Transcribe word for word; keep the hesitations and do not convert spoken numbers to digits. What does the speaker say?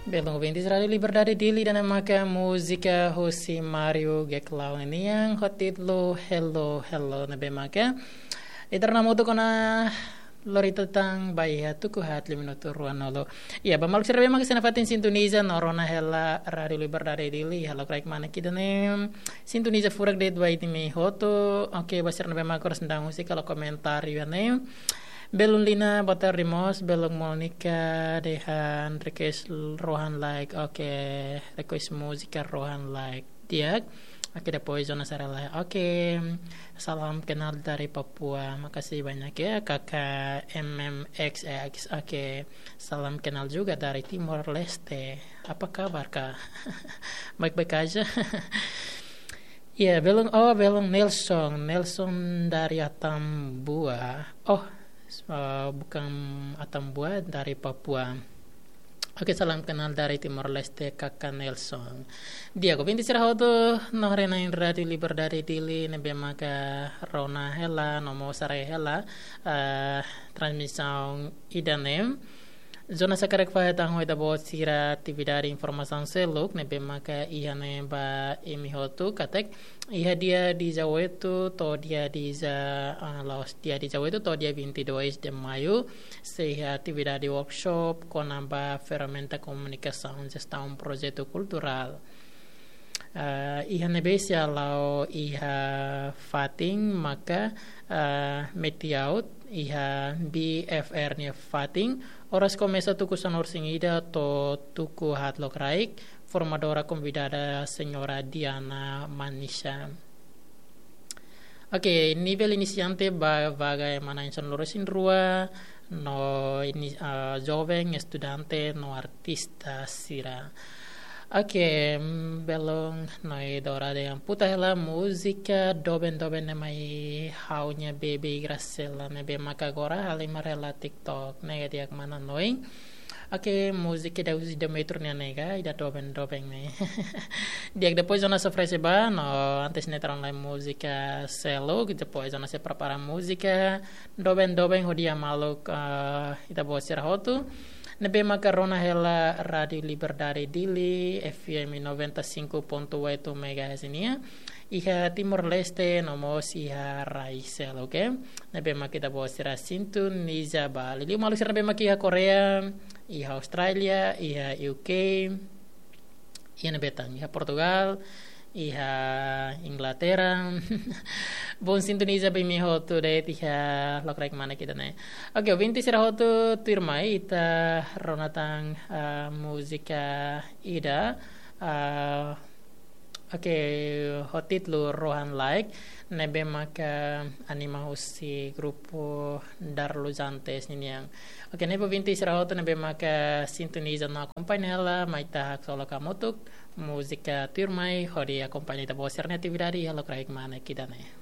Belun ouvintes Rádiu Liberdade Dili, ida-ne'e maka múzika husi Mario Geklau nian ho títulu Hello Hello, ne'ebé maka ita rona hamutuk ona lori tan ba iha tuku haat liu minutu ruanulu. Ya, ba maluk sira ne'ebé maka sei nafatin sintoniza no rona hela Rádiu Liberdade Dili iha lokraik manek ida-ne'e, sintoniza furak de'it ba imi hotu. Oke, ba sira ne'ebé maka oras daudaun husik halo komentáriu iha ne'e. Belun Lina, boa tarde mós. Belun Monica dehan request Rohan Like. Oke, request múzika Rohan Like. Di'ak. Oke, depois Jonas Arela. Oke, salam kenal dari Papua. Makasih banyak ya, Kakak M M X X. Oke, salam kenal juga dari Timor Leste. Apa kabar, Kak? Baik-baik aja. Ya, belun, oh, belun Nelson. Nelson dari Atambua. Oh, eh, bukan Atambua, dari Papua. Oke, salam kenal dari Timor Leste, Kakak Nelson. Di'ak, ouvintes sira hotu, no haree-na'in Rádiu Liberdade Dili, ne'ebé maka rona hela, no mós haree hela, eh, transmisaun ida-ne'e. Jonas hakarak fahe tan ho ita-boot sira atividade informasaun seluk ne'ebé maka iha ne'e ba imi hotu katak iha dia dezoito to'o dia deza, ah, la'ós dia dezoito to'o dia vinte e dois de maio, sei iha atividade workshop kona-ba ferramenta komunikasaun jestaun projetu kulturál. Ah, iha ne'ebé sei hala'o iha fatin maka, ah, Metiaut, iha B F R nia fatin, oras komesa tuku sanulu-resin-ida to'o tuku haat lokraik, formadora konvidada Señora Diana Manisha. Oke, nivel inisiante ba vaga ema na'in sanulu-resin-rua, no ini, ah, joven, estudante, no artista sira. Oke, mm, belun Noi Dora dehan puta hela múzika doben-doben ne'e mai ha'u-nia bebé Graciela ne'ebé maka agora halimar hela TikTok ne'e, di'ak mana Noi. Oke, múzika ida husi Demetrio nian ne'e ka, ida doben-doben ne'e. Di'ak, depois Jonas oferese ba, no antes ne'e ita rona lai múzika seluk, depois Jonas sei prepara múzika doben-doben hodi maluk, eh, ita-boot sira hotu ne'ebé maka rona hela Rádiu Liberdade Dili, F M noventa e cinco ponto oito megahertz nian, iha Timor-Leste, no mós iha rai seluk, oke? Ne'ebé maka ita-boot sira sintoniza ba. Liuliu maluk sira ne'ebé maka iha Korea, iha Austrália, iha U K, iha ne'ebé tan, iha Portugal, iha Inglaterra. Bom sintoniza ba imi hotu de'it iha lokraik manek ida-ne'e. Oke, ouvintes sira hotu, tuirmai ita rona tan, ah, múzika ida, ah, oke, ho títulu Rohan Like, ne'ebé maka anima husi grupu Darluzantes ninian. Oke, ne'e ba ouvintes sira hotu ne'ebé maka sintoniza no akompaña hela, mai ita haksolok hamutuk múzika tuirmai hodi akompaña ita-boot sira-nia atividade iha lokraik manek ida-ne'e.